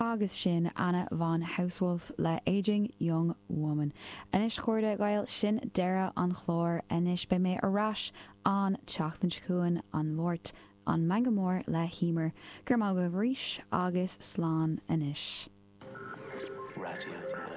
Agus sin Anna von Hausswolff le Aging Young Woman. Anois a chairde Gael, sin deireadh an chláir. Anois beidh mé ar ais an tseachtain seo chugainn, an Mháirt, an Meangadh Mór le hEmer. Go raibh maith agaibh arís agus slán anois. Raidió na Life.